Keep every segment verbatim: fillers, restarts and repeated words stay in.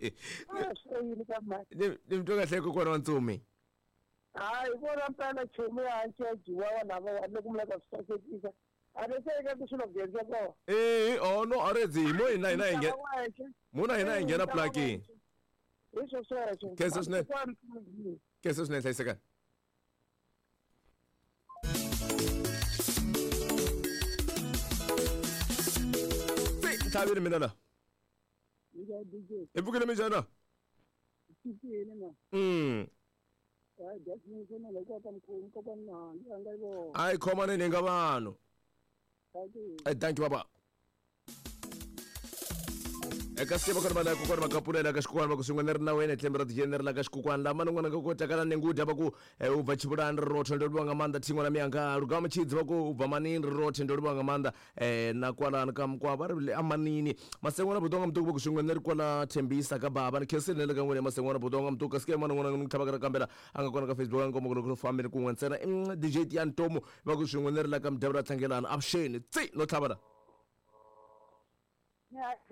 Ni ni mtwa kahle kokwana wa Ntsumi. Hayi vona mpela chumu ya hanci wa lava wa loko mula ka swisasekisa. A ni se ka swilo genza ko. Eh oh no arezi mo ina ina inge. Mona ina ingena plaki. Isso sweswo. Kesa swinene. Kesa swinene hlayiseka. Thabile mina la. E pfukile minjhani? Mm. Hayi khomani ni nga vanhu. Eh thank you baba. Eka siku ka bana kokwana makapulela ka xikukwana va ku swin'we ni ri na wena tlembe ra tijeni ri la ka xikukwana lama ni n'wana ka ku takala ni ngudya va ku u bva Tshivhulani ri rothe ndo livhuwa nga maanḓa thingo na miyanga Lugama Tshidzi va ku u bva Manini ri rothe ndo livhuwa nga maanḓa eh na kwalani ka Mukwa va ri amanini Masengwana Budonga Mutuku va ku swin'we ni ri kwala Thembisa ka baba ni khensile le ka n'wina Masengwana Budonga Mutuku kasi ke mana n'wana ni tlhava ka kambela a nga kona ka Facebook a nga komba ku loko fambeni kun'we ntsena D J Tian Tomo va ku swin'we ni ri la ka Mdavula Tlangelana avuxeni tsi no tlhava la.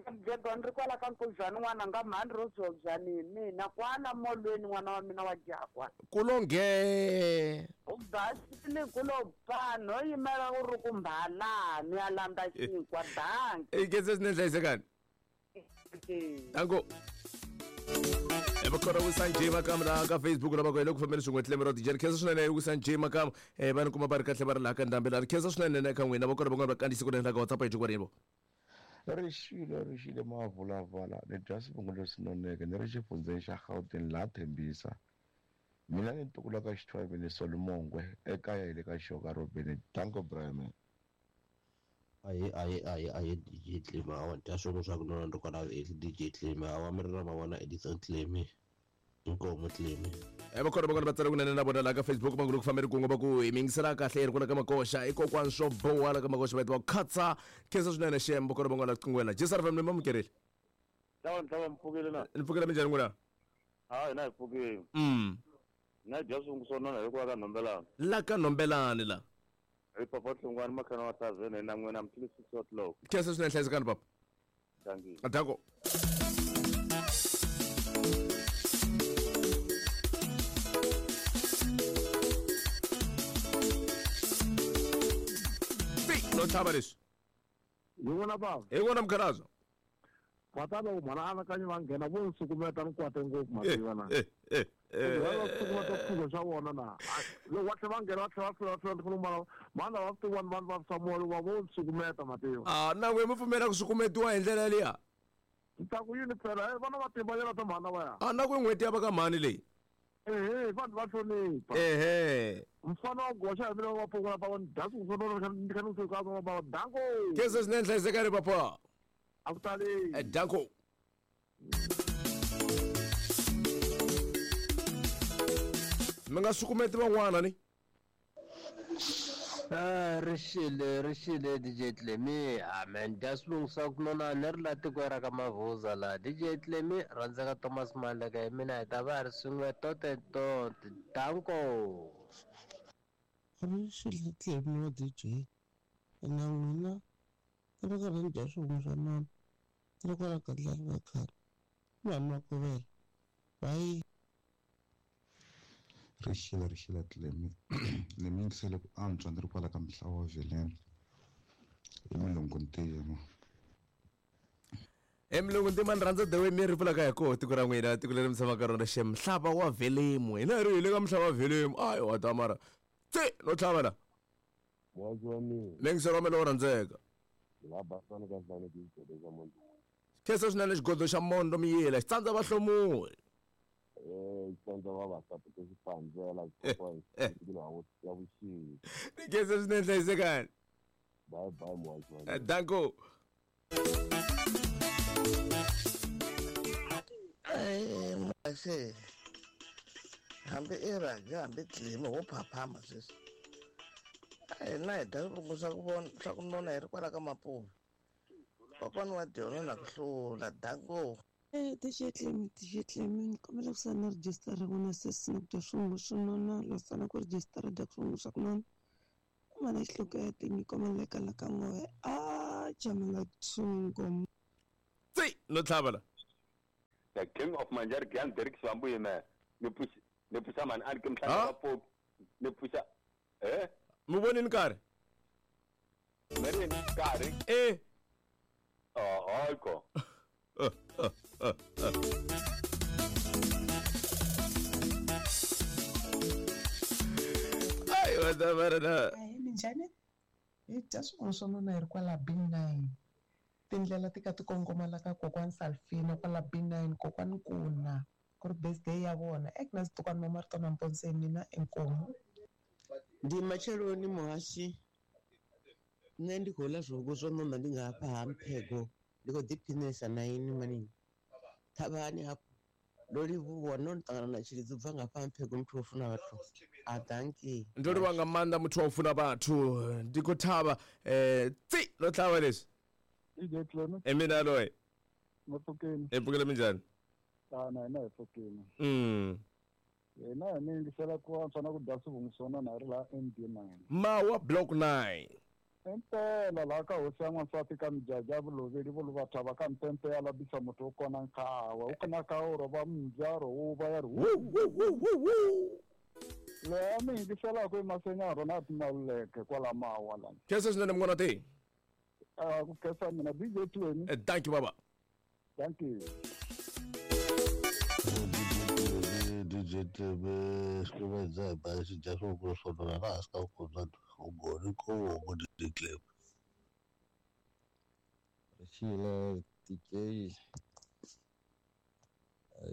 Mdegoni ri kwala ka Nkuzwana n'wana nga mhani ro zwobyani mina kwala molweni n'wana wa mina wa jakwa. Kulonge. U basile kulo ba no yimela u ri ku mbhalani ya landza xinkwa danki. E ke se swinene hlayisekani. Danko. Evakora uSanjay Makam la ka Facebook la ba ku fambeni swin'we tlembe ra D J khensa swinene uSanjay Makam eh va ni kuma va ri kahle va ri laha ka ndhambi la khensa swinene ka n'wina va kona van'wana va kandziyisa ku endla ka WhatsApp yi jikwa Rixile rixile mavulavala ni dya swivongo leswi noneke ni ri xifundzeni xa Gauteng laha Thembisa mina ni ntukulu ka Xithwaveni Solomongwe ekaya hi le ka Xoka Robeni danko Brian. Aye aye aye aye D J Tlema awa dya swin'we swa ku nona ri kwala D J Tlema awa mi ri na mavona Edison Tlemi inkomo Tlemi. E va kona va kona va tsala kunene na vona laha ka Facebook va ku fambeni kun'we va ku hi mingisela kahle ri kona ka Makoxa i kokwani swo boha la ka Makoxa va va khatsa khensa swinene xem va kona van'wana qingwela J S R F M mi amukerile. Tawa ntava mpfukile na. Ni pfukile minjhani n'wina? Ha hina hi pfukile. Mm. Na dya swingu swo nona hi kwa ka Nhombelani. La ka Nhombelani la. Hi papa Hlongwane makhana wa tavene na n'wina mtlili six o'clock. Khensa swinene hlayisekani papa. Thank you. Adako. No tlhava leswi. Hi vona bava. Hi vona mkhalazo. Va ta loko mhana anakanyi va nghena vo nsukumeta ni kwate ngopfu mativa na. Eh eh eh. Va sukumeta swilo swa vona na. Loko va tlhela va nghena va tlhela va tlhela va tlhela va mhana va swi vanhu vanhu va Samuel va vo nsukumeta mativa. Ah na we mi pfumela ku sukumetiwa hi ndlela liya. Ta ku yini phela vana va tiva yena ta mhana va ya. Ah na ku n'hweti ya va ka mhani leyi. Ehe vanhu va hlonipha. Ehe. Mfana wa goxa hi mina wa pfukula pa vanhu dasi ku fana ni kha ni fika va va danko. Khensa swinene hlayisekani papa. A ku tali. Eh danko. Mi nga sukumeti van'wana ni. Ah rixile rixile D J Tlemi amen dya swilungisa ku nona ni ri la tikweni ra ka Mavuza la D J Tlemi rhandzeka Thomas Maleka hi mina hi ta va ri swin'we tote tote danko. Rixile Tlemi wa D J na n'wina ri karhi ni dya swin'we swa nona ri kwala Gadlani va khale vanhu va kuvela bayi. Rixile rixile Tlemi ni mingisele ku antswa ni ri kwala ka Mhlawa wa Veleni i Mulungu Ntima. E Mulungu Ntima ni rhandza the way mi ri pfulaka hi koho tiko ra n'wina tiko leri mi tshamaka rona xe Mhlava wa Velemu hina ri hi le ka Mhlava wa Velemu ayi wa ta mara tsi no tlhava la. Mingiselo wa mina lowo rhandzeka. Khensa swinene xigodo xa Mondo Miyela xi tsandza vahlomuli. Tsandza vavasati ku xipandzela ya vuxisi. Ni khensa swinene hlayisekani. Bye bye muhaxi. Danko. Eh hambi i Raja hambi Tlemi wo phaphama sweswi. A hina hi dya swivongo swa ku vona swa ku nona hi ri kwala ka Mapuve. Kokwana wa dyona na ku hlula danko. Eh D J Tlemi D J Tlemi ni kombela ku sala na rejistara n'wina sesi ni ku dya swivongo swo nona lo sala ku rejistara dya swivongo swa ku nona. Mana xihloko ya tinyiko maleka la ka n'we a jamela tsungo. Tsi no tlhava la. The king of Manjar Gyan Derek Swambu yime ni puxa ni puxa mani a ni ke mhlanga wa pop ni puxa eh mi vonini nkarhi mi ri nkarhi eh oh hayi ko Ai wata Minjhani hi dya swin'wana swo nona hi ri kwala B nine tindlela ti ka ti kongoma la ka kokwani Salfina kwala B nine kokwani Kuna ku ri birthday ya vona Agnes Tukwana Mama ri tona Mponse mina inkomu. Ndi matsheloni muhashi nṋe ndi khou ḽa zwuku zwo nona ndi nga hafha ha Mphego ndi khou ḓiphinesa na ini mani thavhani hafho ndo livhuwa no ṱangana na Tshilidzi ubva nga hafha Mphego muthu wo funa vhathu a danki ndo livhuwa nga maanḓa muthu wa u funa vhathu ndi khou thavha eh tsi no tlhava leswi D J Clement e mina loyi mapfukeni e pfukele minjhani tana hina hi pfukile mm hina hi mi yingisela ku antswa na ku dya swivungu swona na hi ri laha M D nine Mawa block nine impela laha ka hosi ya n'wansati ka mijaji ya vuloveli vo luvathava ka mpempe ya labisa muthu wo kona nkhawa wu kona ka wu rova mbyaro wu va ya ri leyi a mi yingiselaka i masenya rona timaluleke kwala Mawa lana khensa swinene munghana te ku khensa mina D J Tweni thank you baba thank you D J T V xikuvedza hi ba xi dya swivungu swo nona laha hansi ka vukulu bya ko D J Clem Rixile D J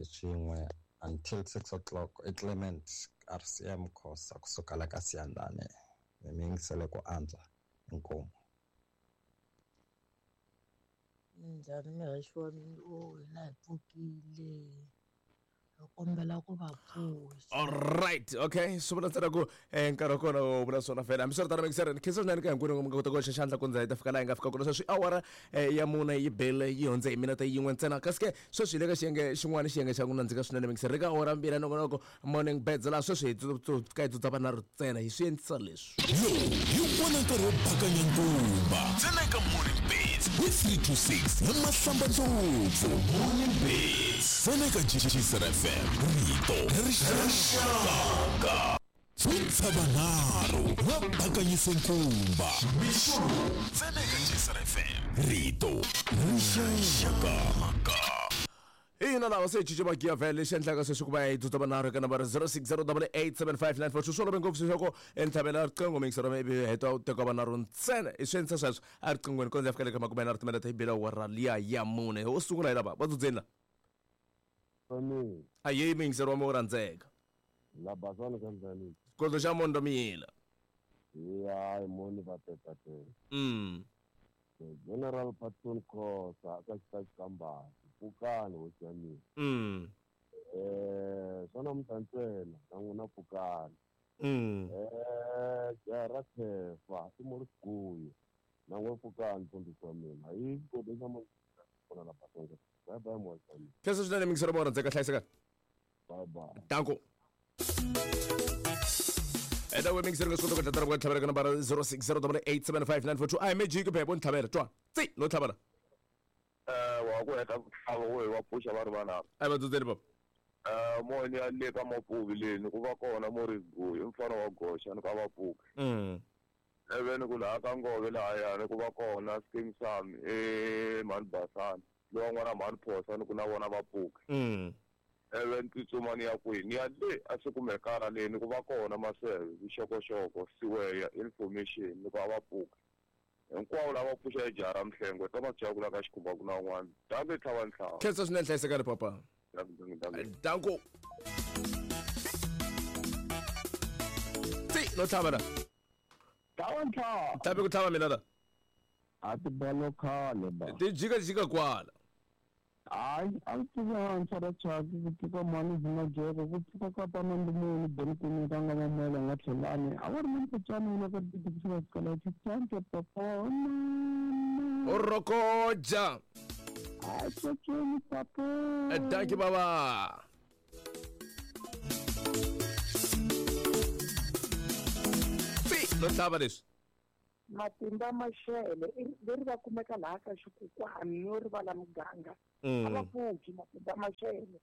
xin'we until six o'clock i Clement R C M Khosa kusuka la ka Siyandane mi yingisele ku antswa inkomu. Minjhani muhaxi wa mina o hina hi pfukile hi kombela ku va pfuxa. All right, okay. Swi vula ntsena ku nkarhi wa kona wo vula swona fela. Hambiswiritano mixer ni khensa swinene ka hinkwenu mi nga kota ku hoxa xandla ku ndza hi ta fika laha hi nga fika kona sweswi awara ya mune yi bele yi hundze hi minete yin'we ntsena kasi ke sweswi hi le ka xiyenge xin'wana xiyenge xa ku nandzika swinene mixer eka awara mbirhi ya nongonoko morning beds laha sweswi hi ka hi tsutsa vanharhu ntsena hi swi endlisa leswi. Lowu hi wona nkarhi wo bakanya nkumba ntsena eka morning beds with three two six na Mahlamba Ndlopfu. Morning beds ntsena eka G G F M rito rixaka tsutsa vanharhu va bakanyise nkumba mixo ntsena eka G C F M rito rixaka. Ina lava se cince magiya vhele lexi endlaka sweswi ku va hi tsutsa vanharhu eka nambara zero six zero double eight seven five nine four two swi olove ngopfu leswaku ntlhavela riqingho mixer ivi heta u teka vanharhu ntsena i swi endlisa sweswo a riqinghweni kondza ya fika le ka makume nharhu timinete yi bela awara liya ya mune wo sungula hi lava va dzudzeni la a ye mixer wa mi wo rhandzeka la basana ka njhani xikolo xa mondo miyila ya hi moni va tetatela mm General Patton Khosa ka xitachikambasi pfukani hosi ya mina mm eh swa namuntlha ntsena na n'wina pfukani mm eh jaha ra Khefa i Moriguyi na n'we pfukani mfundhisi wa mina hi xikolo xa mondo kona la basana bye bye moya wa mina khensa swinene mixer wa rhandzeka hlayiseka bye bye danko Eda we mixer nga swi kota ku tlatela ku tlhavela ka nambara zero six zero double eight seven five nine four two a hi magic phepho ni tlhavela twa tsi no tlhavela eh wa ku heta ku tlhava wo wa pfuxa va ri vanharhu a va dzudzeni baba eh moni ya le ka Mapuvi leni ku va kona Moriguyi i mfana wa goxa ni ka Vapuki mm eveni ku laha ka Ngove lahayani ku va kona Skim Sam e mhani Basani lowa n'wana mhani Phosa ni ku na vona Vapuki mm eve ni tsutsuma ni ya kwihi ni ya le a swi kumekana leni ku va kona maseve vuxokoxoko siweya information ni ku a va pfuki hinkwavo lava pfuxa jaha ra Mhlengwe Thomas Jakula ka xikhumba ku na un'wana danke tlhava ntlhava khensa swinene hlayisekani papa danko tsi no tlhava la tlhava ntlhava tlhavi ku tlhava mina la a ti bolo khale ba ti jika jika kwala hayi a ndzi pfuka ntshwa ra chaki ku pfuka mhani Zimajeko ku pfuka ka panambi muni Benikuni ka nga mamela nga tlhelani a va ri na mpotswana wona ka titikisela xikala xitshanke papa u rokoja a tsotsheni papa danki baba tsi no tlhava leswi Matimba Mashele leri va kumeka laha ka xikukwani no rivala muganga A va pfuki matimba maxele.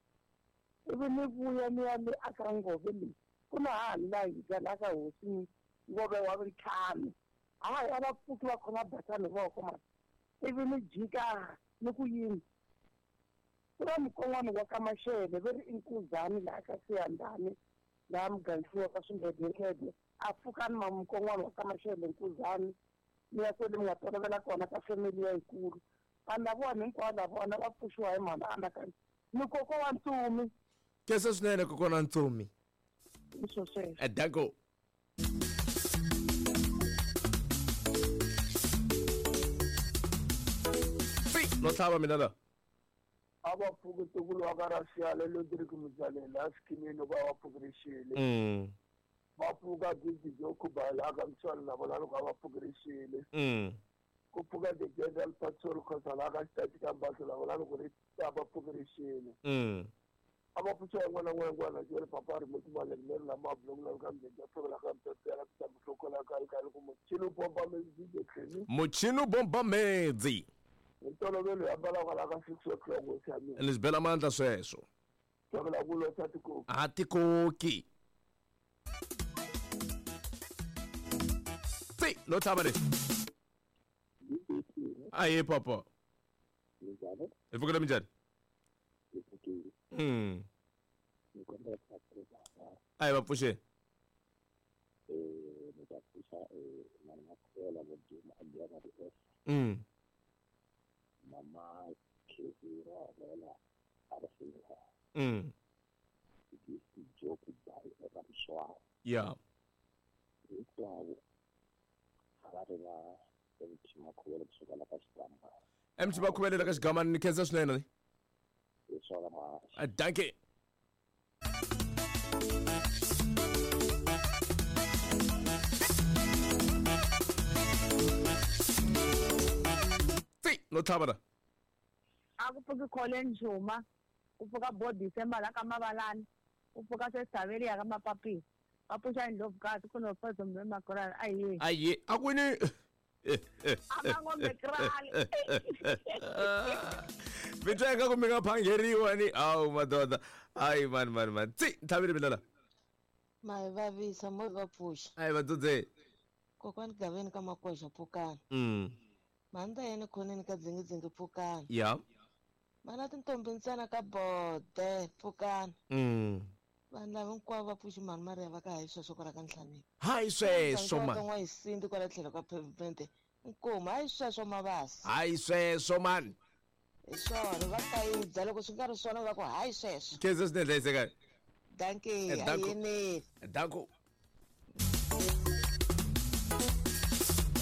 Ivi ni vuya ni ya le aka ngove leyi ku na hahani laha hi laha ka hosi ngove wa ntlhanu. Hayi a va pfuki va khoma batani voko mani. Ivi ni jika ni ku yini ku na mukon'wana wa ka Maxele ve ri i Nkuzani laha ka Siyandhani laha mugangisiwa ka Swingedengede a pfuka ni mukon'wana wa ka Maxele Nkuzani ni ya kwele mi nga tolovela kona ka family ya yikulu. Vanhu lavona hinkwavo lavona va pfuxiwa hi mhana anakanya ni koko wa Ntsumi. Kesa swinene kokwana wa Ntsumi. Hi swo sweswo. Danko. No tlhava mina la. A va pfuki ntukulu wa ka Raxiale Lodrick Mudzalela esikimini va va pfukirixile. Mm. Va pfuka Gidi Jo Khubala aka Mtswana na vona loko a va pfukirixile. Mm. Ku pfuka the General Patrol Khosa la ka xitati ka Mbaso na vona loko ri a va pfukirixile. Mm. A va pfuxa n'wana n'wana n'wana jele papa ri muti male leri la mabulongo la ka mdende tshola ka mtsetela ka mhlokola ka ka loko muchini bomba medzi tlheni. Muchini bomba medzi. Ntolovelo ya mbala kwala ka six o'clock ho tshamile. Ni swi bela mandla sweswo. Tshovela ku losa tikoki. A tikoki. Tsi, no tlhava le. Aye papa. Hi pfukile minjhani? Mm. Aye va pfuxe. Mm. Mama Kizira Lela Arfinha. Mm. Yeah. M T Makhuvele ka xigamani ni khensa swinene. Dankie. Tsi, no tlhava la. A ku pfuki Colin Juma, ku pfuka Bo December la ka Mavalani, ku pfuka Sesaveli ya ka Mapapisi. Va pfuxa Ndlovukazi ku no pfuxa mbe Makorani ayi. Ayi, a kwini. A va ngo Mekrali. Mi twa ingaku mi nga phangeriwa ni awu madoda. Hayi mani mani mani. Tsi, tlhavile mina la. Ma hi vavisa mo va pfuxa. Ayi vadzudze. Kokwani Gaveni ka Makoxa pfukani. Mm. Mhani yena khoneni ka dzingidzingi pfukani. Yeah. Mana tintombi ntsena ka bode pfukani. Mm. Vanhu lava hinkwavo va pfuxi mhani Maria va ka hayi sweswo kwala ka Nhlaneni. Hayi sweswo man. N'wa hi sindi kwala tlhelo ka pavement. Nkomu hayi sweswo mavasi. Hayi sweswo man. Hi swona va kayidza loko swi nga ri swona va ku hayi sweswo. Khensa swinene hlayisekani. Dankie, ayini. Danko.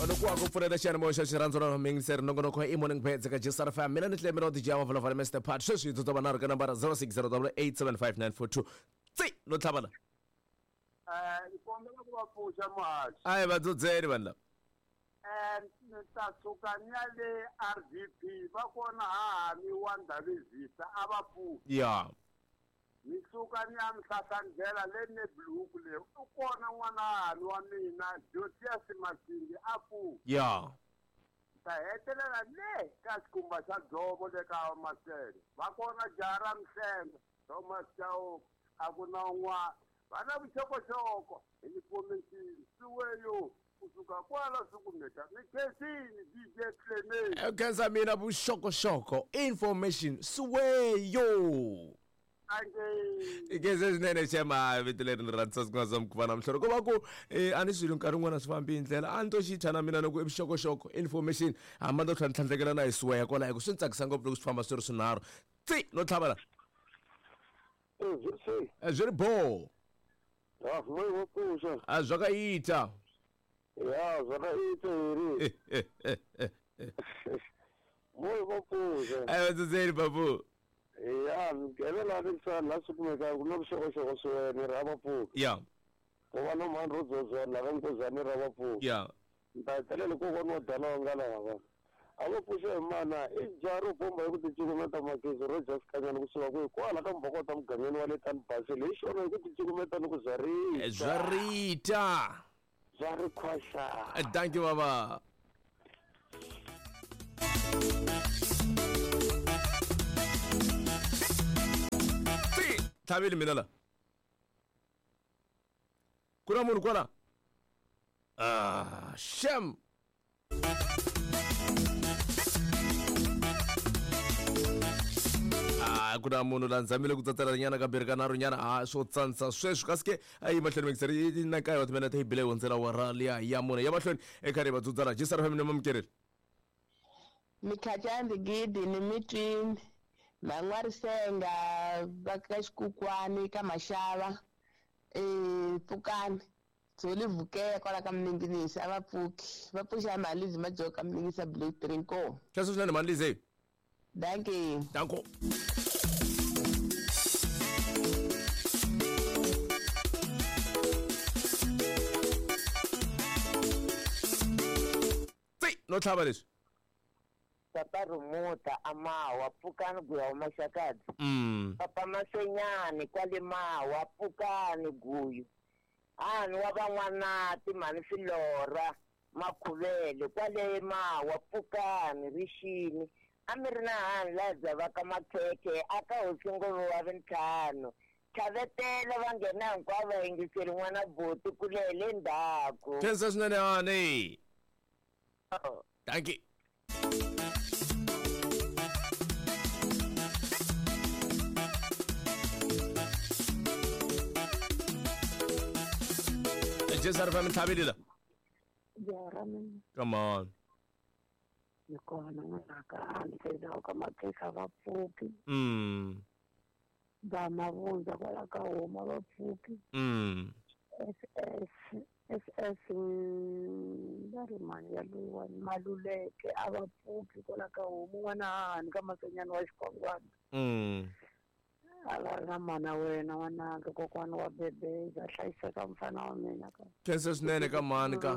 Loko wa ku pfuneta xiyanimoya xa xirhandzu ra mingiseri nongonoko i morning beds ka G S R F M. Mina ni Clemmy D J wa Volavula Mister Pat. Sweswi hi tsutsuma nharhu ka nambara zero six zero double eight seven five nine four two. Tsi, no tlhava la. Eh, ni kombela ku va pfuxa muhaxi. Ayi vadzudzeni vanhu lava. Eh, ni ta suka ni ya le R V P va kona hahani wa Ndhavezisa a va pfuki. Yeah. Ni suka ni ya Mhlahlandlela le Nebluku le u kona n'wana hahani wa mina Josias Masindi a pfuki. Yeah. Ta hetelela le ka xikhumba xa dzovo le ka Masele va kona jaha ra Mhlengo Thomas Chauke a ku na un'wana va na vuxokoxoko hi information siweyo kusuka kwala swikumeka ni khensini D J Clement. Khensa mina vuxokoxoko information siweyo. Ikeze swinene xema vito leri ni rhandza ku nga za mukhuva namuntlha ko va ku a ni swilo nkarhi wun'wana swi fambi hi ndlela a ni to xi thya na mina loko i vuxokoxoko information hamba no tlhela tlhandlekela na hi siweya kwala hi ku swi ni tsakisa ngopfu loko swi famba swi ri swinharhu. Tsi, no tlhava la. Swi ri bo. A zwa ka ita. Ya, zwa ka ita ri. Moyo va pfuxa. Ayi vadzudzeni babu. Ya, nghelela ni tsana la swi kumeka ku na vuxokoxoko swinene ra va pfuka. Yeah. Ku va no mhani ro dzozana lava Nkuzani ra va pfuka. Yeah. Ni ta hetelela kokwana wa Dalonga lava. A va pfuxa hi mana i jaha ro bomba hi ku ticukumeta makezi ro dya swikanyana kusuka kwihi kwala ka Mbhokota mugangeni wa le Tani Basel hi xona hi ku ticukumeta ni ku zwa rita. Zwa rita. Zwa ri khwaxa. Thank you baba. Tlhaveli mina la. Ku na munhu kwala? Ah, shem. Ah, ku na munhu la nzamile ku tsatsela nyana kambirhi ka nharhu nyana a swo tsandza sweswi kasi ke a yi mahlweni mixeri na nkaye wa timinete yi bile hundzela wara liya ya mune ya mahlweni eka ri vadzudzala jisara family mamukerile Mikhatyani gidi ni mitwini Man'warisenga va ka xikukwani ka Maxava eh pfukani Dzoli vukeya kwala ka Mninginisi a va pfuki va pfuxa Malizi Majoka Mninginisi Blue Trinko. Khensa swinene Malizi. Dankie. Danko. Tsi, no tlhava leswi. Papa Rumuta amawa pfukani guya wa Maxakadzi. Mm. Papa Masenyani kwale mawa pfukani guyu. Ani wa van'wanati mhani Filora Makhuvele kwale mawa pfukani rixini. A mi ri na hani laha dzavaka makhekhe aka hosi ngove wa vintlhanu. Tlhavetela va nghena hinkwavo va yingiseri n'wana buti kule hi le ndzhaku. Khensa swinene hani. Dankie. Jesar fam tlhaveli la. Jara mina. Come on. Ni kona n'wanaka a ndzi ka makhekhe va pfuki. Mm. Va mavundza kwala ka homa va pfuki. Mm. S S S S va ri mani ya loyiwani Maluleke a va pfuki kwala ka homu n'wana hani ka Masenyani wa Xikwangwana. Mm. A va ri na mana wena n'wanaka kokwana wa bebeza hlayiseka mfana wa mina ka. Khensa swinene ka mhani ka.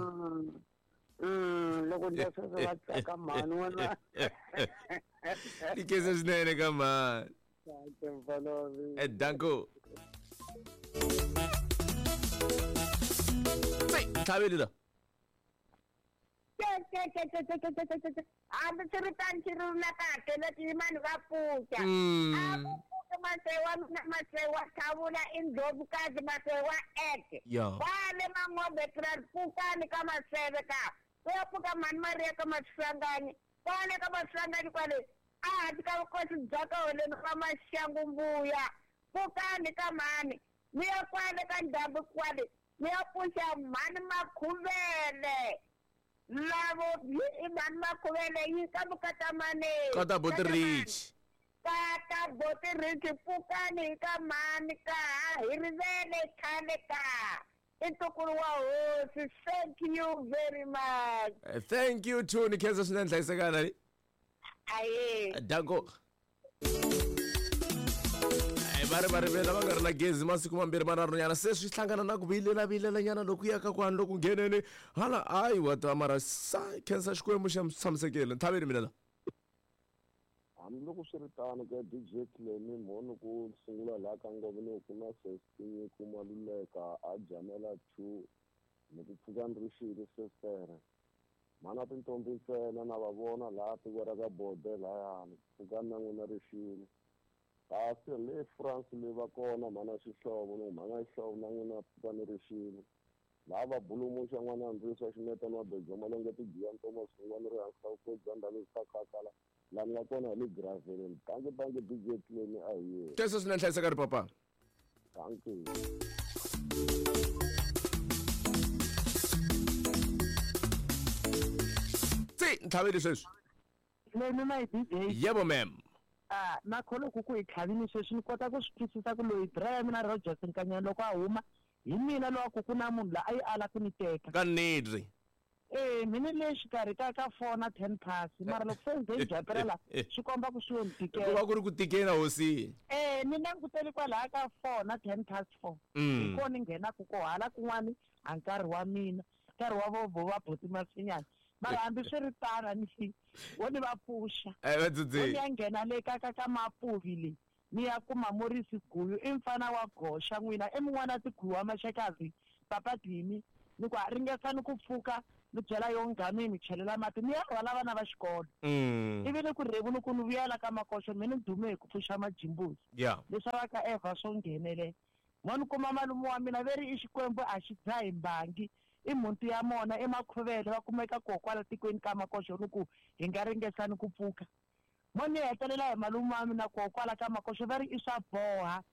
Mm, loko ndla sweswo va tsaka mhani n'wana. Ni khensa swinene ka mhani. Dankie mfana wa mina. Eh, danko. Tsi, tlhaveli la. Hambi swi ri tano xi ri na kahle leti mani va pfuka. A ku pfuki Masewa mina Masewa Tlhavula i ndlovukazi Masewa eke. Kwale Mangombe pfukani ka Maseve ka. Ku ya pfuka mhani Maria ka Maswanganyi. Kwale ka Maswanganyi kwale a hansi ka vukosi bya ka holeni va Maxangu mbuya. Pfukani ka mhani mi ya kwale ka ndhambi kwale mi ya pfuxa mhani Makhuvele. Lavo i mhani Makhuvele yi ka Mukatamani. Kata Boti Rich. Kata Boti Rich pfukani ka mhani ka hi rivele khale ka. I ntukulu wa hosi. Thank you very much. Uh, thank you too ni khensa swinene hlayisekana. Aye. Danko. Va ri va rivela va nga ri na gezi masiku mambirhi manharhu nyana se swi hlangana na ku vilela vilela nyana loko ya ka kwani loko ngheneni hala hayi wa ta mara sa khensa Xikwembu xa tshamisekile tlhaveli mina la. Hambiloko swi ri tano ka D J Clemi mhoni ku sungula laha ka ngove ni ku na sesi ku Maluleka a jamela two ni ku pfuka ni ri xile sesere mhana tintombi ntsena na va vona laha tiko ra ka bode layani pfuka na n'wina rixile. Kasi le France le va kona mhana Xihlovo no mhana Xihlovo na n'wina pfuka ni rixile laha va bulumuxa n'wana Ndziso Ximeta na Bejo Malonge tigiya Thomas n'wana ri hansi ka vukosi bya ndhavuko ka Khakhala laha ni nga kona hi le Graveleni. Dankie dankie D J Clemi a hi yena. Khensa swinene hlayiseka ri papa. Dankie. Tsi, ntlhaveli sweswi. Lemi my D J. Yebo ma'am. Ah, na kholo ku ku hi tlhavini sweswi ni kota ku swi twisisa ku loyi dra ya mina Rogers Nkanyana loko a huma hi mina lowa ku ku na munhu la a yi ala ku ni teka. Ka nidri. Eh, mina le xikarhi ka ka four na ten past mara loko se ndzi japerela swi komba ku swi yo ni tikela. Ku va ku ri ku tikela hosi. Eh, ni langutele kwalaya ka four na ten past four. Hi kona ni nghenaku ko hala kun'wani a nkarhi wa mina nkarhi wa vo va buti Masinyana. Mara hambi swi ri tano ni wo ni va pfuxa. Eh, va dzudzi. Ni ya nghena le ka ka ka Mapuvi le ni ya kuma Morisi Guyu i mfana wa goxa n'wina i mun'wana tiguyu wa Maxakazi papa Dimi ni ku ringesani ku pfuka Ni byela yo ngami mi chelela mati ni ya rhwala vana va xikolo. Ivi ni ku rhevu ni ku ni vuyela ka makoxo mina ni dume hi ku pfuxa majimbuzi. Yeah. Leswi va ka Eva swo nghenelela. Mo ni kuma malume wa mina ve ri i Xikwembu a xi dzahi mbangi i mhunti ya mona i makhuvele va kumeka koho kwala tikweni ka makoxo ni ku hi nga ringesani ku pfuka. Mo ni hetelela hi malume wa mina koho kwala ka makoxo va ri i swa boha.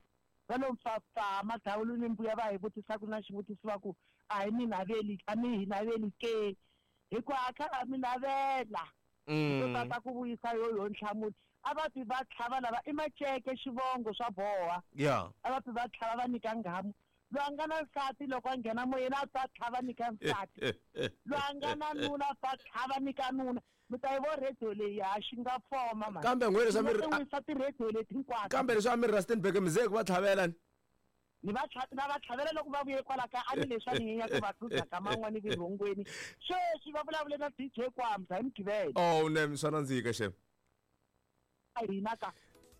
Va lo mpfapfa madawulu ni mbuya va hi vutisaka na xivutiso va ku a hi mi naveli a mi hi naveli ke hikuva a kha a mi navela. To tata ku vuyisa yo yo nhlamulo a va ti va tlhava lava i maceke xivongo swa boha. Yeah. A va ti va tlhava va nyika nghamu. Loyi a nga na nsati loko a nghena moyeni a ta tlhava nyika nsati. Loyi a nga na nuna a ta tlhava nyika nuna. Mi ta yi vo radio leyi ha xi nga foma mani. Kambe n'we leswi a mi ri wisa ti-radio leti hinkwato. Kambe leswi a mi ri Rustenburg mi ze ku va tlhavela ni. Ni va tlha na va tlhavela loko va vuye kwala ka a ni leswi a ni nyenya ku va tlhuza ka man'wani virhongweni. Sweswi va vulavule na D J Kwamza hi Mugqivela. Oh ne swa nandzika xem. A hina ka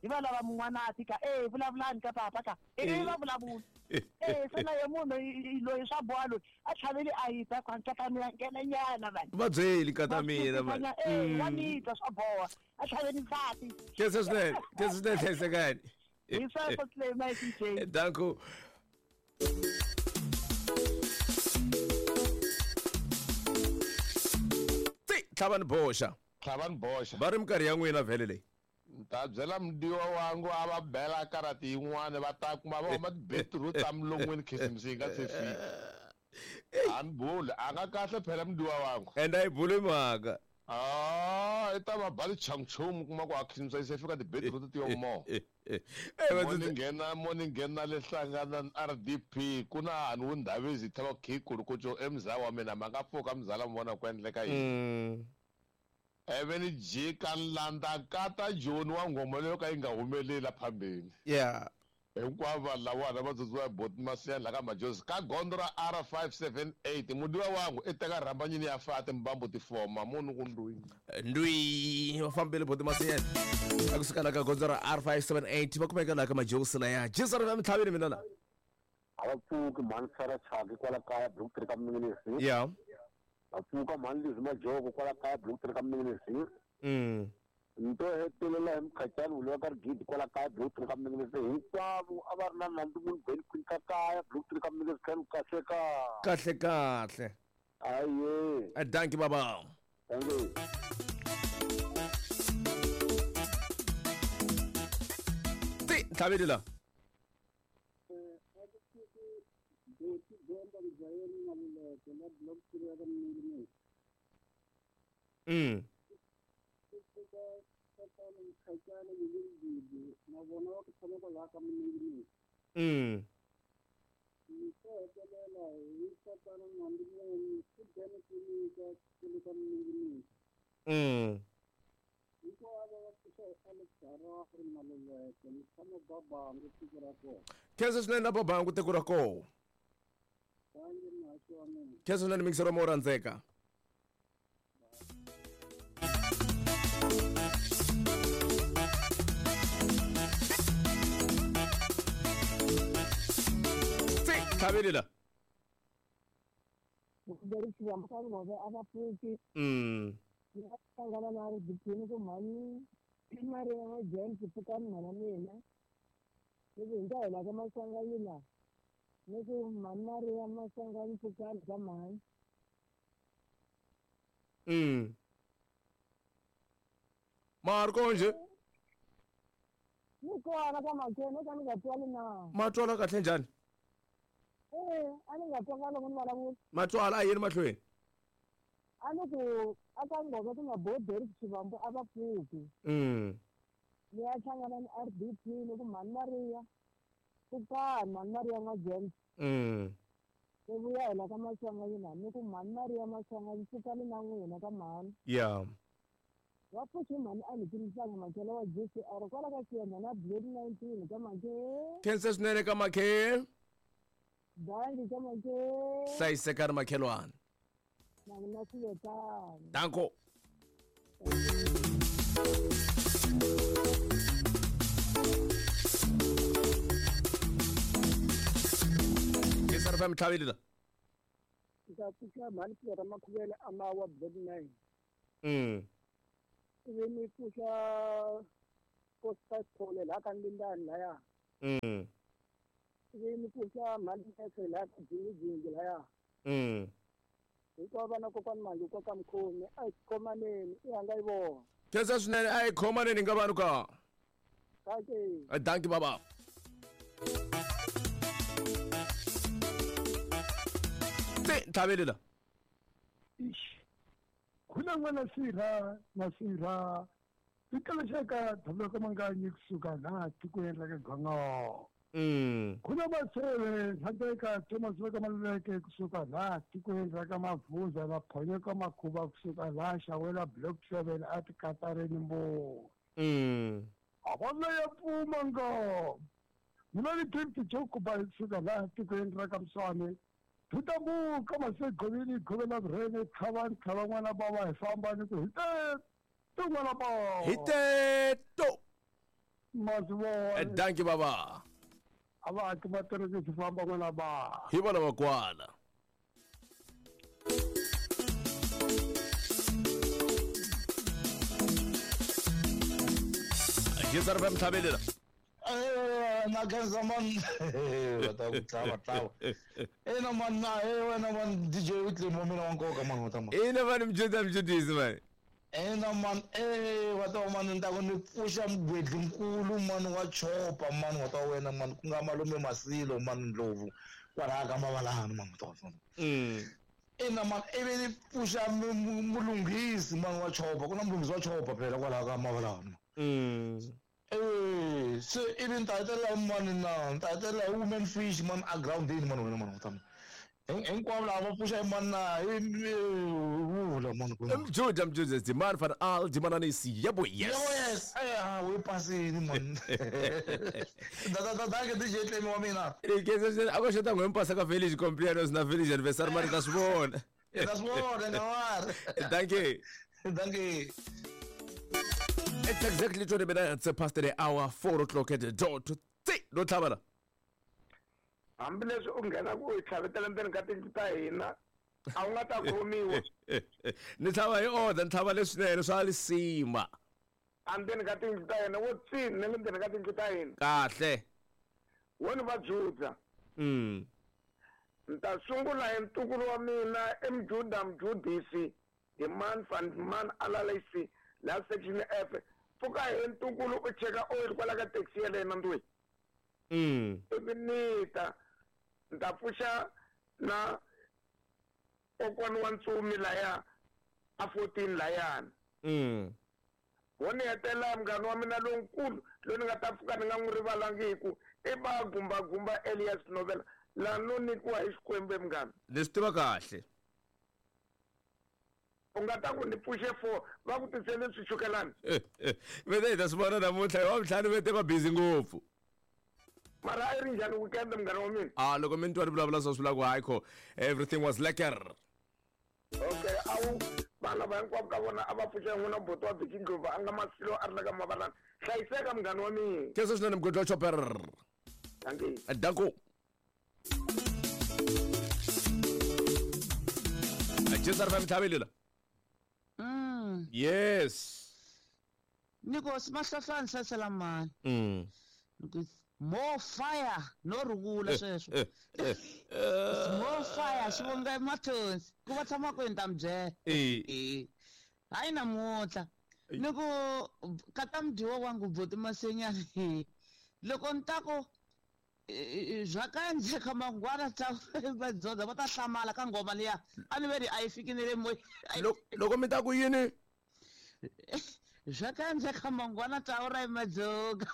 hi va lava mun'wana a tika eh vulavulani ka papa ka eh va vulavula. Eh se na ye munhu loyi swa boha loyi a tlhaveli a yi ta ka mina nghena nyana vanhu. Va byeli ka mina vanhu. Eh wa ni twa swa boha a tlhaveli nsati. Khensa swinene, khensa swinene hlayisekani. Hi sweswo Clem D J. Danko. Ti tlhavani boxa. Tlhavani boxa. Va ri minkarhi ya n'wina vhele leyi. Ta byela mudiwa wangu a va bela karati yin'wana va ta kuma va huma ti-beetroot ta milon'weni khisimusi yi nga se fika. A ni buli a nga kahle phela mudiwa wangu. And a yi buli mhaka. Ah, i ta va ba tichunchumu kuma ku a khisimusi yi se fika ti-beetroot ti yo mo. Mo ni nghena mo ni nghena le hlangana na R D P ku na hani wu Ndabezi tha va khikulu ku co emzala wa mina ma nga pfuka mzala mi vona ku endleka yini. Eve ni jika nlanda kata Joni wa nghoma leyo ka yi nga humeleli la phambeni. Yeah. Hinkwavo vanhu lavana va tsundzuka boti Masiya la ka Majozi ka gondzo ra R five seven eight mudiwa wangu i teka rhambanyini ya fa timbambu ti foma munhu ku ndwi. Ndwi va fambile boti Masiya a kusuka la ka gondzo ra R five seven eight va kumeka la ka Majozi laya. Jesu ri va mitlhaveni mina la. A va pfuki mhani Sara Chaki kwala kaya block three ka Minginisi. Yeah. Va pfuka mhani Lizzy Majoko kwala kaya block three ka Minginisi. Mm. Nto hetelela hi Mkhacani wule wa ka Rigidi kwala kaya block three ka Minginisi hinkwavo a va ri na nandzu munhu Benny Queen ka kaya block three ka Minginisi kha kahle ka. Kahle kahle. Aye. A dankie baba. Thank you. Ti tlhaveli la. Mm. Mm. Mm. Khensa swinene na babangu tiko ra koho. Khensa swinene mixero mo rhandzeka. Tlhaveli la. Mm. Hlangana na R D P ni ku mhani i Maria wa James pfukani mhana mina. Ni ku hi nga hela ka Maswanganyi la. Ni ku mhani Maria Maswanganyi pfukani ka mhani. Mm. Marco nje. Ni kona ka Makene ka ni nga twali na. Ma twala kahle njhani? Eh, a ni nga twanga loko ni vulavula. Ma twala a yini mahlweni? A ni ku a ka nghoka ku nga boderi xivambu a va pfuki. Mm. Ni ya hlangana ni R D P ni ku mhani Maria pfukani mhani Maria n'wa James. Mm. Ni vuya hela ka Maswanganyi la ni ku mhani Maria Maswanganyi pfukani na n'wina ka mhani. Yeah. Va pfuxi mhani a ni timisanga Makhele wa G C R kwala ka Xiyenge na Blade nineteen ka Makhe. Khensa swinene ka Makhe. Dankie ka Makhe. Hlayisekani makhelwani. Na mina swi Danko. Kisar fam tlhaveli la. Ndza pfuxa mhani Pira Makhuvele amawa block nine. Mm. Ivi ni pfuxa Costa Thole laha ka Ndindani laya. Mm. Ivi ni pfuxa mhani Nese laha ka Jingjingi laya. Mm. Hinkwavo vana kokwani Mangi koka Mkhomi a hi khomaneni i hanga yi vona. Khensa swinene a hi khomaneni nga vanhu ka. Dankie. Dankie baba. Te tlhabelela. Ish. Khuna n'wana sirha na sirha. Tikalashaka thabela ka manganyi kusuka laha tikweni ra ka Gongo. Mm. Khuna maseve hlandeka Thomas va ka Maluleke kusuka laha tikweni ra ka Mavuza va phonyeka makhuva kusuka laha Xawela block seven a tikatareni mbo. Mm. Avona ya pfuma ngo. Mina ni Gift Jokuba kusuka laha tikweni ra ka Mswane. Thutambuka masegovini govela vurhene tlhava tlhava n'wana bava hi famba ni ku hi te to n'wana bava. Hi te to. Mazivona. Dankie baba. A va haki matirhisi famba n'wana bava. Hi vona va kwala. Jezar va mthabelela. Eh na khensa man va ta ku tlava tlava. Ina man na eh wena man D J Whitley mo mina wa nkoka man wa ta man. Ina man mjunda mjundisi man. Ina man eh wa ta man ni ta ku ni pfuxa mugwedli nkulu man wa chopa man wa ta wena man ku nga malume Masilo man Ndlovu kwalaha ka Mavalani man wa ta wena. Mm. Ina man ivi ni pfuxa mulunghisi man wa chopa ku na mulunghisi wa chopa phela kwalaha ka Mavalani. Mm. Eh, se ivi ni ta hetelela hi mani na ni ta hetelela hi woman fish man a groundini man wena man wa ta hinkwavo lava va pfuxa hi mani na hi vula man ku Mjuda mjuda Dimani van Al Dimananisi yebo yes. Yebo yes. Eh we pasini man. Da da da da ke D J Tlemi wa mina. Ke a ko xota ngwempasa ka village cumpleaños na village anniversary mari ta swi vona. Ta swi vona nga wari. Dankie. Dankie. It's exactly twenty minutes past the hour, four o'clock at the dot. No tlhavela. Hambileswi u nghena ku hi tlhavetela ndzeni ka tindlu ta hina a wu nga ta khomiwa. Ni tlhava hi order, ni tlhava leswinene swa lisima. Endzeni ka tindlu ta hina wo tsini na le ndzeni ka tindlu ta hina. Kahle. Wo ni va dzudza. Mm. Ni ta sungula hi ntukulu wa mina Mjuda Mjudisi hi man van man alalisi la section F. Pfuka hi ntukulu u cheka oil kwala ka taxi ya lena ndwi. Mm. Ivi ni ta ni ta pfuxa na kokwani wa Ntsumi laya a fourteen layani. Mm. Wo ni hetelela munghana wa mina lonkulu loyi ni nga ta pfuka ni nga n'wi rivalangiku i va Gumba Gumba Elias Novela laha no nyikiwa hi Xikwembu munghana. Ni swi tiva kahle. U nga ta ku ni pfuxe four va ku tisele swichukelani. Vete hi ta swi vona namuntlha hi wa ntlhanu vete va busy ngopfu. Mara a yi ri njhani weekend munghana wa mina? Ah loko mi ni twa ni vulavula swa swi vula ku hayi kho everything was lekker. Okay, a wu vana va hinkwavo ka vona a va pfuxa n'wina buti wa Biki Ndlovu a nga Masilo a ri la ka Mavalani. Hlayiseka munghana wa mina. Khensa swinene mugodi wa chopper. Dankie. Danko. Jezar va mthabelela. Mm. Yes. Niko simahlahlani sasela mani. Mm. More fire no rugula sweswo. More fire xivonga emathonsi ku va tshama kwini ta mi byela. Eh. Hayi namuntlha ni ku kata mudyiwa wa ngubuti Masenyani loko ni ta ku bya ka endleka mangwana ta vadzoda va ta hlamala ka nghoma liya a ni ve ri a yi fiki ni le moyeni. Loko mi ta ku yini? Bya ka endleka mangwana ta ura madzoga.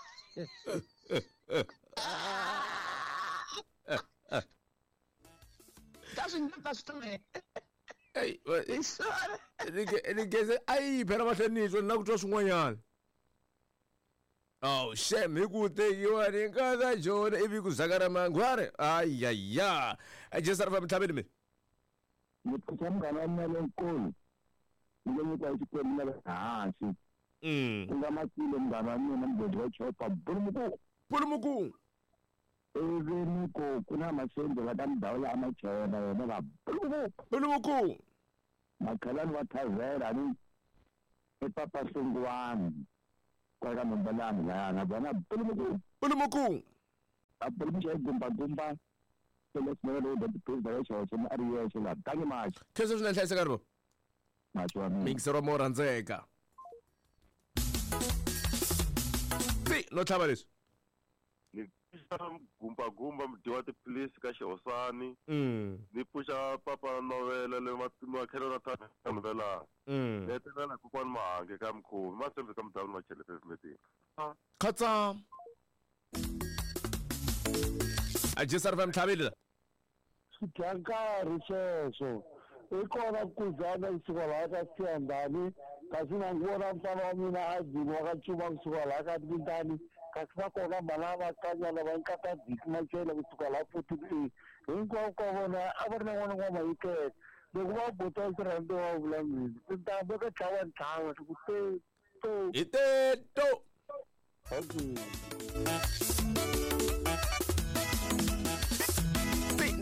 Ta swi nga ta swi Ey, ni geze ayi phela mahlweni ni twa na ku twa swin'wanyana. Oh, shem hi ku tekiwa ni nkata jona ivi ku zakara mangware. Ayaya. Jezar va mtlhaveni mi. Ni pfuxa munghana wa mina lonkulu. Ni lo nyikiwa hi Xikwembu na le hansi. Mm. Ku nga Masilo munghana wa mina mugodi wa chopa Bulumuku. Bulumuku. Ivi ni ku ku na masende va ta mudawula a machela yena va buluku makhelani wa thavela ni i papa Sungwani kwala ka Mumbalani lana vona buluku buluku a buluku xa gumba gumba khensa swinene hlayiseka ri mixero mo rhandzeka ti no tlhava leswi ni pfuxa gumba gumba mudyi wa tiphilisi ka xihosani ni pfuxa papa novela le makhelo ra tata novela ni hetelela kokwani Mahange ka Mkhomi masembe ka mudavuni machele pavement khatsa a G S R F M tlhavile swi dya nkarhi sweswo i kona kuzana kusuka laha ka Siyandhani kasi na vona mfana wa mina a dyiwa ka Cuma kusuka laha ka Ndindani kasi va kona mhana va kanyana va nkata Diki Machela kusuka laha fourteen A hinkwavo ka vona a va ri na n'wana wa Mayikele loko va bota xirhambo wa vula mina tintambu ka tlhava ntlhava ku te to hi te to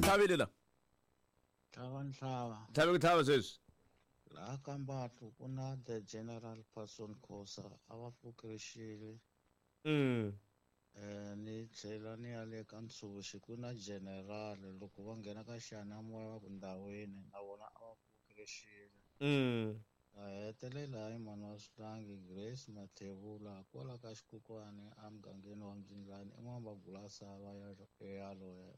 tlhavile la tlhava ntlhava tlhave ku tlhava sweswi laha ka Mbatlu ku na the general Person Khosa a va pfukerixile mm eh ni tlhela ni ya le ka Ntshuxi ku na general loko va nghena ka xiyanimoya va ku ndhawini na vona a va pfukerixile mm a hetelela hi mhani wa Swihlangi Grace Mathebula kwala ka Xikukwani emugangeni wa Mbyindlani i n'wamagulasa va yaloye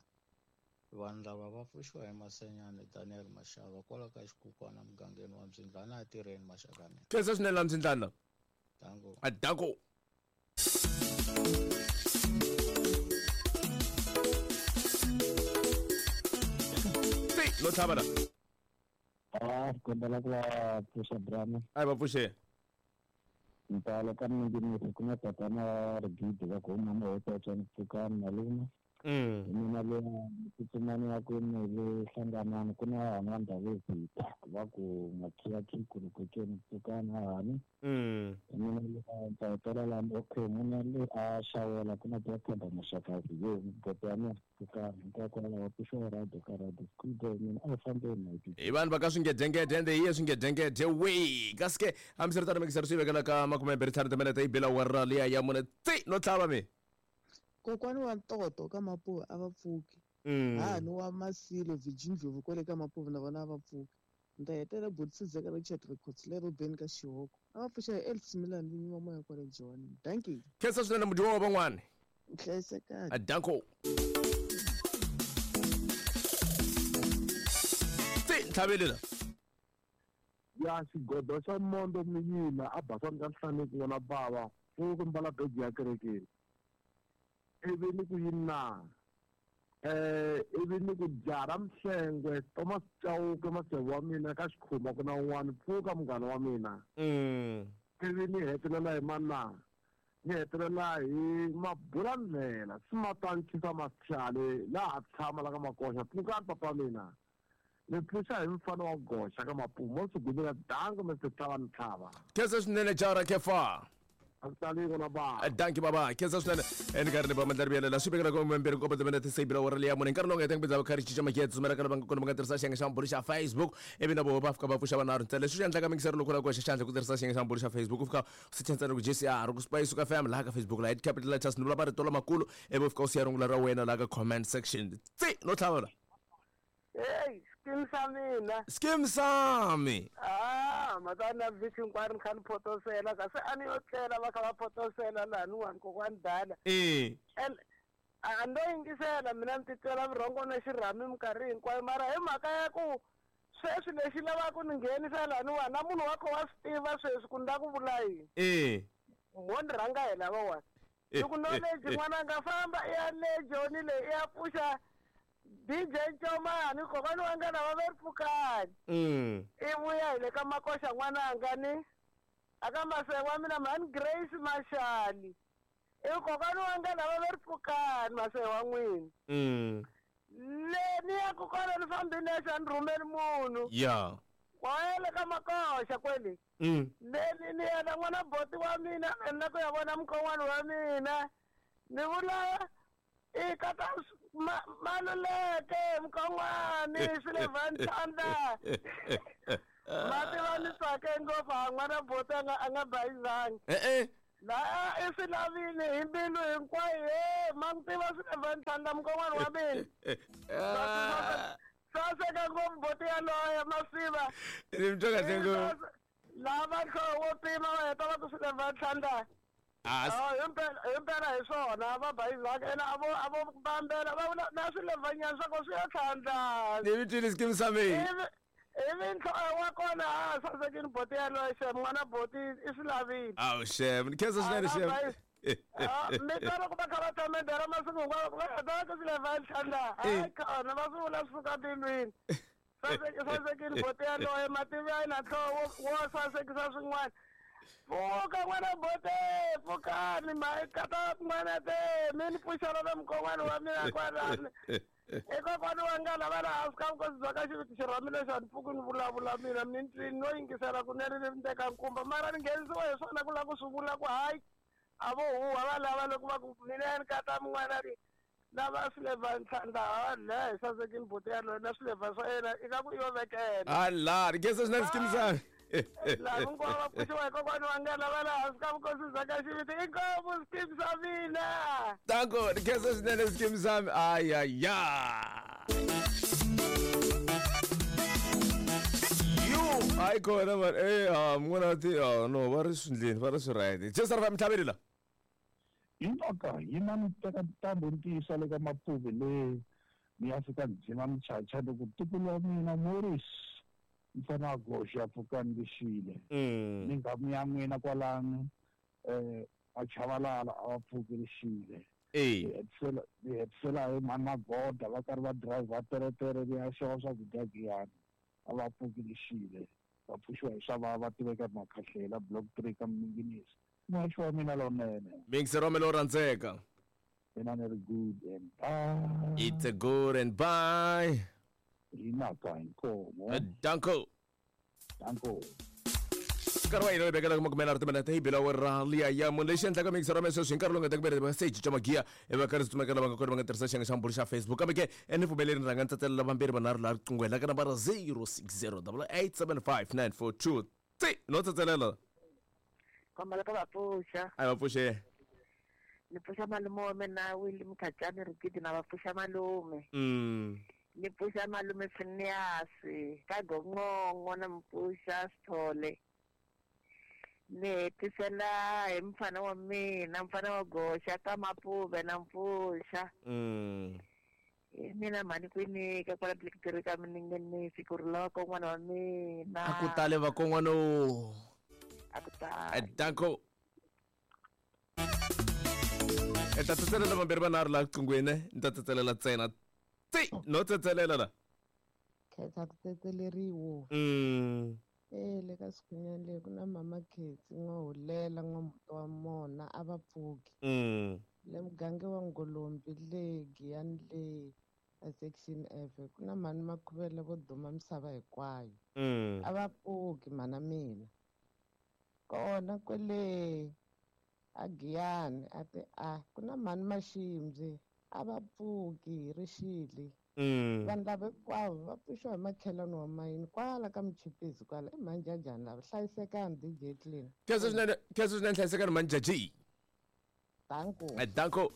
vanhu lava va pfuxiwa hi Masenyani Daniel Mashava kwala ka Xikukwana mugangeni wa Mbyindlani a tirheni maxaka mina khensa swinene la Mbyindlani danko a danko ti no tlhava la a kombela ku va pfuxa drama a va pfuxe ntalo ka minginisi ku na tatana Rigidi va ku huma mahototswani pfukani malume mina le tsutsumani ya kwini le hlanganani ku na hani wa Ndhavezitha va ku makhiyakhi kulukekeni pfukani hahani mina le ta hetelela okay mina le a xawela ku na Themba Maxakazi yo goto ya mina pfukani hinkwako lava pfuxiwa radio ka radio school mina a hi fambeni hi vanhu va ka swingedengede ende hi ye swingedengede we kasi ke hambiswiritano mikiseri swi vekela ka makume mbirhi ntlhanu timinete yi bela wara liya ya mune ti no tlhava mi Kokwani wa Ntoto ka Mapuva a va pfuki hahani wa Masilo Virgin Ndlovu kwale ka Mapuva na vona a va pfuki ni ta hetelela Botisizeka Richard Records le Robeni ka Xihoko a va pfuxa hi Elvis Milan vinyi wa moya kwale Joni dankie khensa swinene mudyiwa wa van'wani hlayisekani danko ti ntlhavele la ya xigodo xa mondo miyina a basani ka nhlaneki n'wana bava pfuku mbala beji ya kerekeni ivi ni ku yini na eh ivi ni ku jara Mhlengwe Thomas Chauke maseve wa mina ka Xikhuma ku na un'wana pfuka munghana wa mina mm ivi ni hetelela hi mana ni hetelela hi Mabulandlela Simatanchisa Machale laha tshama la ka Makoxa pfukani papa mina ni pfuxa hi mfana wa goxa ka Mapumo Sugumela dango Mister Tlhava Ntlhava khensa swinene jara kefa Baba. Danki baba khensa swinene enkarhini ba mandlari vuyelela swi vekela ka mbirhi nkombo timinete se bira wara liya mune nkarhi lowu nga hetanga bidza va kha ri cinca makete tsumela ka lava nga kona va nga tirhisa xiyenge xa mbulu xa Facebook ivi na voho va fika va pfuxa vanharhu ntsena leswi swi endlaka mingisero loko la ku hoxa xandla ku tirhisa xiyenge xa mbulu xa Facebook u fika u secha ntsena ku G C R ku Spice ka F M laha ka Facebook laha capital letters ni vula marito lamakulu ivi u fika u siya rungula ra wena laha ka comment section tsi no tlhavela Hey, skim sa mina. Skim sami. Ah, matana vhiki hinkwaro ni kha ni photosela kasi a ni yo tlela va kha va photosela lahaniwani kokwani dala. Eh. And a ndo yingisela mina ni titwela vurhongo na xirhami minkarhi hinkwayo mara hi mhaka ya ku sweswi lexi lavaka ku ni nghenisa lahaniwani na munhu wa kho wa swi tiva sweswi ku ni la ku vula yini. Eh. Mo ni rhanga hi lavawani. Loko knowledge n'wananga famba i ya le Joni leyi i ya pfuxa D J Chomani kokwani wa nga lava ve pfukani. Mm. I vuya hi le ka Makoxa n'wananga ni aka maseve wa mina mhani Grace Mashali. I kokwani wa nga lava ve pfukani maseve wa n'wina. Mm. Le ni ya ku kona ni fambi nexe a ni rhumeli munhu. Yeah. Wa ya le ka Makoxa kwele. Mm. Le ni ni ya na n'wana boti wa mina ni la ku ya vona mukon'wana wa mina. Ni vula I kata Maluleke Mkon'wani Silver Ntlanda. Mati va ni tsake ngopfu a n'wana buti a nga a nga bayizangi. Eh eh. La i swi lavile hi mbilu hinkwayo he ma n'wi tiva Silver Ntlanda Mkon'wani wa mina. Saseka ngopfu buti yaloye Masiva. Ni mi twa kahle ngopfu. Lava nhloko wo pima va heta va ku Silver Ntlanda. Ah, himpela himpela hi swona va bayizaka ene a vo a vo bambela va vula na swilevhanyana swa ko swi ya tlhandla. Ni mi twile Skeem Saam. Ivi ivi nhloko wa kona a sasekini boti yaloye xem n'wana boti i swi lavile. Awu xem, ni khensa swinene xem. Mi twa loko va kha va twa masiku hinkwawo va heta va ku Silver Ntlanda. Hayi khona va swi vula swi suka mbilwini. Sasekini boti yaloye mativi ya yena nhloko wo sasekisa swin'wana. Pfuka n'wana bote, pfukani kata n'wana te mi ni pfuxela na mukon'wana wa mina kwalani. I kokwana wa nga lava laha hansi ka vukosi bya ka xiviti xirhami lexi a ni pfuki ni vulavula mina mi ni no yingisela kunene ni teka nkumba mara ni nghenisiwa hi swona ku lava ku swi vula ku hayi a vo huha va lava loko va ku mina ni kata n'wana ri lava Silver Ntlanda ha hi sasekini buti yaloye na swilevha swa yena i nga ku i yo vekela. Ala, ni khensa swinene Skeem Saam. Laha hinkwavo va pfuxiwa hi kokwana wa nga lava laha hansi ka vukosi bya ka xiviti inkomu Skeem Saam mina. Danko, ni khensa swinene Skeem Saam. Ayaya. Yo, hayi kona man. Eh, ah, n'wana ti ah no, va ri swindleni, va ri swi right. Just ra mtlhaveli la. Intoka yina ni teka ntambu ni tiyisa le ka Mapuve le ni ya fika ni dzima michacha loko ntukulu wa mina Morris mfana wa goxa ya pfukani lexile. Ni nghamu ya n'wina kwalano eh a Chavalala a va pfuki lexile. Eh. Ni hetisela hi mhani Magoda va karhi va driver teretere va ya xava swakudya Giyani a va pfuki lexile. Va pfuxiwa hi swa va va tiveka Makhahlela block three ka Minginisi. Muhaxi wa mina lowunene. Mixer wa mina lowo rhandzeka. Mina ni ri good and bye. It's a good and bye. Hinaka inkomo. Danko. Danko. Nkarhi wa hina wu vekela makume nharhu timinete hi bila ra liya ya munhu lexi endlaka mixer wa mina sweswi hi nkarhi lowu nga ta ku se cinca magiya va karhi tsumekela va nga kona va nga tirhisa xiyenge xa mbulu xa Facebook kambe ke ni pfumeleni rhanga ni tsatselela vambirhi vanharhu laha riqingweni la ka nambara zero six zero double eight seven five nine four two three no tsatselela. Kombela ka va pfuxa. A va pfuxe. Ni pfuxa malume wa mina Willie Mkhacani Rikidi na va pfuxa malume. Mm. Ni pfuxa malume Phineas ka Gongongo na mpfuxa Sithole. Ni hetisela hi mfana wa mina mfana wa goxa ka Mapuve na mpfuxa. Mm. Mina mhani kwini ka kwala Blackberry ka Minengenisi ku ri lava kon'wana wa mina. A ku tale va kon'wana o. A ku tale. Danko. Ni ta tsatselela vambirhi vanharhu laha riqingweni ni ta tsatselela ntsena. Tsi, no tsatselela la. Khetsa ku tsetseleriwa. Mm. Eh le ka Sikhunyani le ku na mama Khetsi n'wahulela n'wamuti wa mona a va pfuki. Mm. Le muganga wa Ngolombi le Giyani le a section F ku na mhani Makhuvele vo duma misava hinkwayo. Mm. A va pfuki mhana mina. Kona kwele a Giyani a ti a ku na mhani Maximbi a va pfuki rixile. Mm. Vanhu lava hinkwavo va pfuxiwa hi makhelwani wa mayini kwala ka Michipisi kwala i Manjajani lava hlayisekani D J Clean. Khensa swinene, khensa swinene hlayisekani Manjaji. Danko. Danko.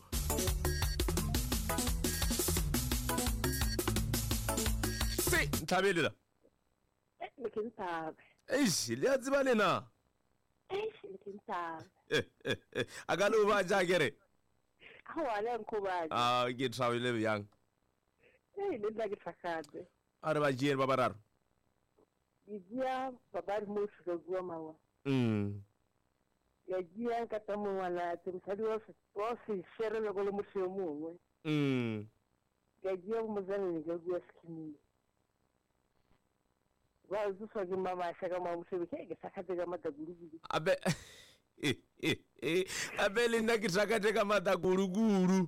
Si, ntlhaveli la. Ni khensa. Eish, le a tseba le na. Eish, ni khensa. A ka le ba ja kere. Awa le nkhubaje. Ah, ke thabile bjang. Ei, le nna ke tlhakgatse. A re ba jeng ba bararo. Ke dia babadi mo fika bua mawa. Mm. Ya dia ka ta mongwana tse mosadi wa wa se shere le go le motho yo mongwe. Mm. Ke dia mozane ke bua skimile. Ba zuswa ke mama shaka ma mosebe ke tlhakgatse ka matagulugulu. Abe abe le nna ke tlhakgatse ka matagulugulu.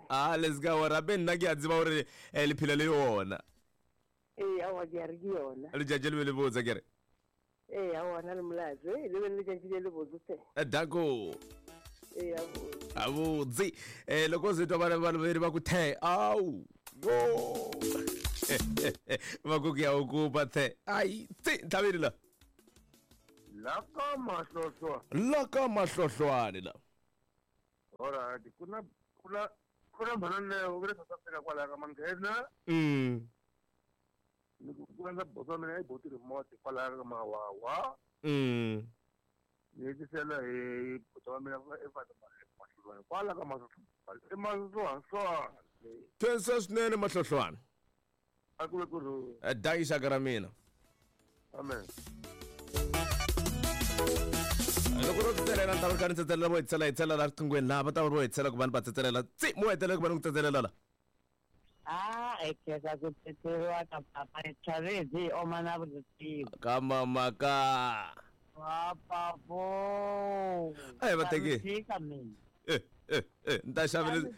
Ah, let's go. Rabe nna ke a tseba gore le phela le yona. Ee, aowa ke a re ke yona. Letšatši le be le botse ke re. Ee, aowa na le molato. Ee, le be le letšatši le le botse hle. Danko. Eya avudzi eh loko zwi twa vana valuveri va ku the awu yo va ku ya ukupa the ai tsi ntlhaveni la la ka mahlohlwa la ka mahlohlwane la alright kuna kuna kuna mhananeo ku le South Africa kwalaya ka manghena mm ni ku ku na bosa mina yi boti remote kwalaya ka mawawa mm ni hetisela hi bota wa mina eka kwala ka mahlohlwane i mahlohlwane twensa swinene mahlohlwane a ku ve ku ri dangi xaka ra mina amen loko ro tsetselela ni ta va kha ni tsetselela vo hetisela hetisela la riqinghweni laha va ta va vo hetisela ku va ni va tsetselela tsi mo hetelela ku va ni ku tsetselela la a hi khensa ku tsetseleriwa ka papa hi chavezi hi oma na vutivi ka mama ka papapo a hi va teki tshika mina eh eh eh ni ta xavele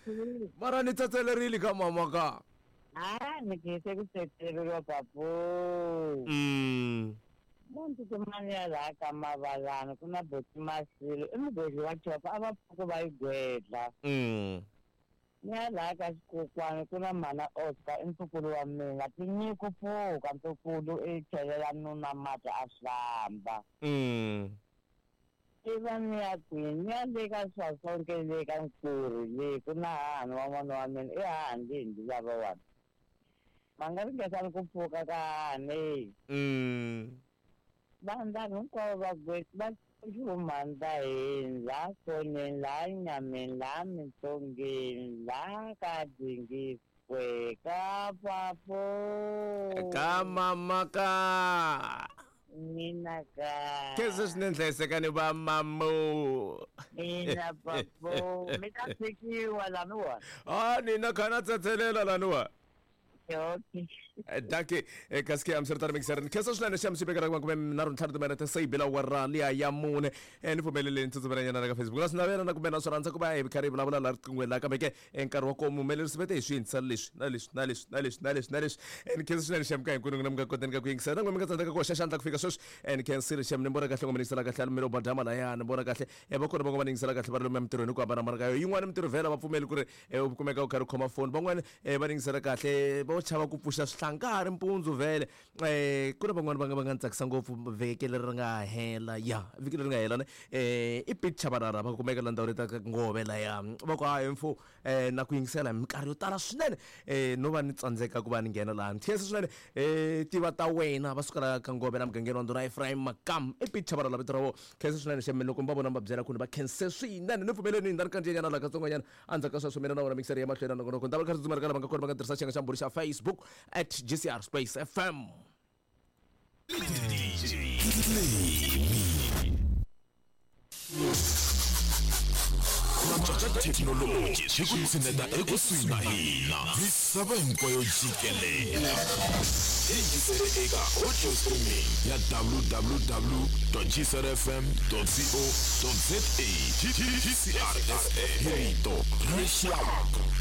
mara ni tsetselerile ka mama ka a ni khense ku tsetseleriwa papo mm muntu kumani ya laha ka mavalana ku na boti masilo i mugwedli wa chopa a va pfuki va yi gwedla mm ni ya laha ka xikokwani ku na mana Oscar i ntukulu wa mina tinyiko pfuka ntukulu i chelela nuna mati a hlamba mm i va ni ya kwini ni ya le ka swasonke le ka nkuri le ku na hahani wa n'wana wa mina i hahani leyi lava wani va nga ringesani ku pfuka ka hahani mm vanhu vanhu hinkwavo va va humanda hini laha foneni laha nyameni laha mintsongeni laha ka dingiswe ka papo ka mama ka mina ka khensa swinene hlayisekani va mamu mina papo mi ta tshikiwa laniwa a nina kha na tsetselela laniwa Okay. Dankie. Kasi am swi ri mixer. Khensa swinene xa msibekela ku kume nharhu ntlhanu timinete se yi bela awara liya ya mune. Ni pfumeleleni tsutsumelanyana ka Facebook. Na swi navela na kumbe na swi rhandza ku va hi karhi hi vulavula laha riqinghweni laha kambe ke nkarhi wa kona muhumelerisi vete hi swi yingisela leswi na leswi na leswi na leswi na leswi na leswi. Ni khensa swinene xem ka hinkwenu n'wina mi nga koteni ka ku yingisela na n'wina mi nga tsandzeka ku hoxa xandla ku fika sweswi. Ni khensile xem ni vona kahle ngoma ni yingisela kahle a lumelo badama laya ni vona kahle va kona van'wana va ni yingisela kahle va ri lomu emitirhweni ku hambanahambana ka yona. Yin'wana mintirho vhela va pfumeli ku ri u kumeka u karhi u khoma foni van'wana va ni yingisela kahle vo chava ku pfuxa swihlangari mpundzu vhele eh ku na van'wana va nga va nga ni tsakisa ngopfu vhiki leri ri nga hela ya vhiki leri nga hela ne eh i Pete Chabarara va kumeka la ndhawu leta ngove laya va ku hayi mfo eh na ku yingisela hi minkarhi yo tala swinene eh no va ni tsandzeka ku va ni nghena laha ni khensa swinene eh tiva ta wena va suka la ka ngove la mugangeni wa ndhuna Ephraim Makam i Pete Chabarara vito ra vona khensa swinene xembe loko mi va vona mi va byela ku ni va khense swinene ni pfumeleni ni kandziyanyana la katsongonyana endzhaku ka sweswo mina na wona mixer ya mahlweni nongonoko ni ta va kha ri tsutsumela ka lava nga kona va nga tirhisa xiyenge xa mbhuri xa Facebook at G C R Space F M. Thekinoloji swi ku tshineta ekusuhi na hina misava hinkwayo jikelele yingisele eka audio streaming ya w w w dot g c r f m dot co dot z a G C R F M hi rito ra rixaka.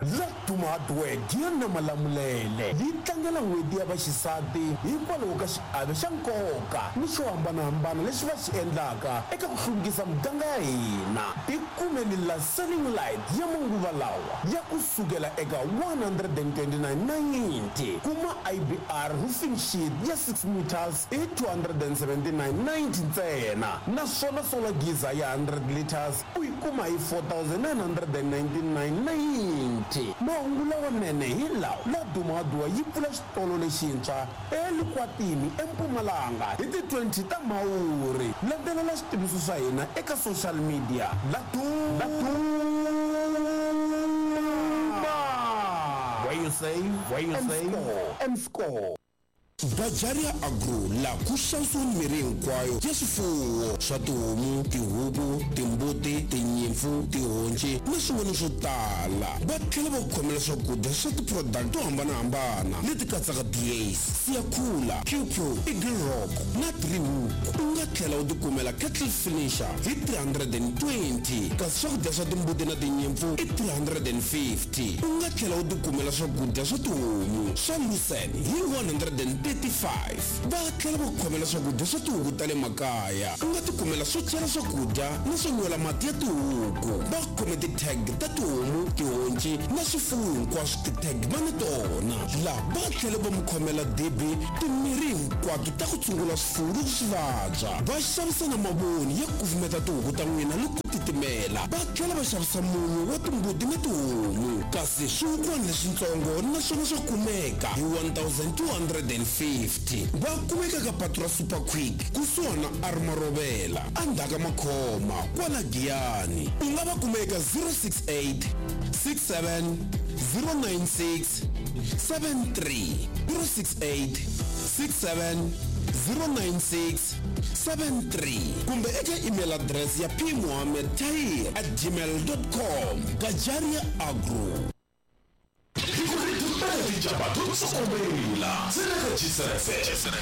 Laduma Hardware Gianna Malamulele yi tlangela n'hweti ya vaxisati hikwalaho ka xiave xa nkoka ni xo hambanahambana lexi va xi endlaka eka ku hluvukisa muganga ya hina. Tikumeni la selling light ya manguva lawa ya ku sukela eka one hundred and twenty-nine ninety kuma I B R roofing sheet ya six meters i two hundred and seventy-nine ninety ntsena naswona solar geyser ya hundred liters u yi kuma hi four thousand nine hundred and ninety-nine ninety. Mahungu lawanene hi lawa Laduma Hardware yi pfula xitolo lexintshwa eLikwatini eMpumalanga hi ti twenty ta Mhawuri. Landzelela switiviso swa hina eka social media Laduma where you save where you save and score. Bajaria Agro la ku xavisiwa mirhi hinkwayo ya swifuwo swa tihomu, tihuku, timbuti, tinyimpfu, tihonci tihonci na swin'wana swo tala. Va tlhela va ku khomela swakudya swa ti-product to hambanahambana leti katsaka D A's, Siyakhula, Qpro, Eagle Rock na Driehoek. U nga tlhela u tikumela kettle finisher hi three hundred and twenty, kasi swakudya swa timbuti na tinyimpfu i three hundred and fifty. U nga tlhela u tikumela swakudya swa tihomu swa lucerne hi one hundred and thirty-five. Va tlhela va ku khomela swakudya swa tihuku ta le makaya. U nga tikumela swo chela swakudya na swo nwela mati ya tihuku. Va khome ti-tag ta tihomu, tihonci na swifuwo hinkwaswo, ti-tag va na tona laha. Va tlhela va mi khomela dibi, timirhi hinkwato ta ku tshungula swifuwo loko swi vabya. Va xavisa na mavoni ya kufumeta tihuku ta n'wina loko titimela. Va tlhela va xavisa munyu wa timbuti na tihomu, kasi swihukwana leswitsongo naswona swa kumeka hi one thousand two hundred and fifty. Va kumeka ka patu ra Super Quick kusuhana Armarovela, endzhaku ka Makhoma kwala Giyani. U nga va kuma eka zero six eight six seven zero nine six seven three, zero six eight six seven zero nine six seven three, kumbe eka email address ya p mohammed tahir at gmail dot com. Gajaria Agro. Tsokomela tsena ka G S F M.